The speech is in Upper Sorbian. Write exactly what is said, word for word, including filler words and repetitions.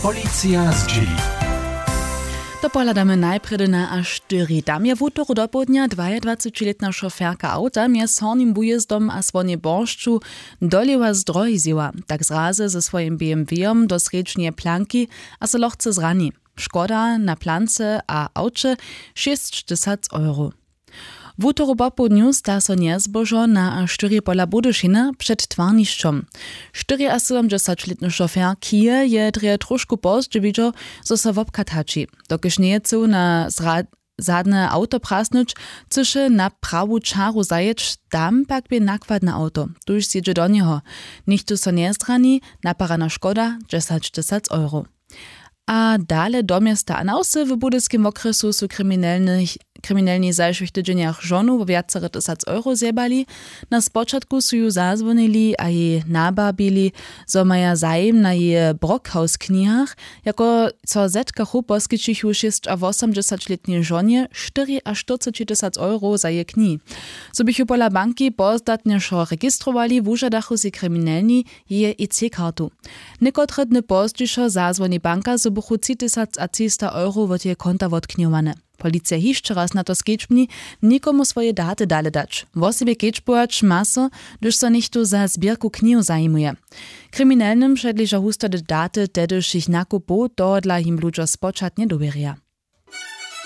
Policija zdźěli. To pohladamy najprjedy na a štyri. Tam je wutoru dopołdnja dwajadwacećilětna šoferka awta mjez hornim bujězdom a słonjej boršću dolěwa z drohi zjěła, tak zrazy ze swojim bmw-jom do srjedźneje planki a so lochce zrani. Škoda na plance a awće šěsćtysac euro. Wutoru popołdnju sta so njezbožo na a štyri pola budyšina před twarnišćom. Štyriasydomdźesaćlětny šofer kije je drje trošku pozdźe widźał, zo so wobchad hači, dokelž njeje chcył na zadne awto prasnyć, chcyše na prawu čaru zajěć. Tam pak bě nakładne awto, tuž sjedźe do njeho. Nichtó so njezrani. Naparana škoda dźesaćtysac euro. A dale do města a na wsy w budyskim wokrjesu su kriminelni zajšłych tydźenjach žonu wo wjacere tysac euro zjebali. Na spočatku su ju zazwonili a jej nababili, zo maja zajim na jeje brockhaus knihach. Jako so zetkachu poskićichu šěsćawosomdźesaćlětnej žonje štyriaštyrceći tysac euro za jeje knihi. Zo běchu pola banki pozdatnje wšo registrowali wužadachu sej kriminelni jeje ic kartu. Někotre dny pozdźišo zazwoni banka zo buchu tři tysac a třista euro wot jeje konta wotknihowane. Policija hišće raz na to skedźbni, nikomu swoje daty dale dać wosebje kedźbować ma so, hdyž so něchtó za zběrku knihow zajimuje. Kriminelnym předleža hustody daty tehdyšich nakupow tohodla jim ludźo spočatnje dowěrja.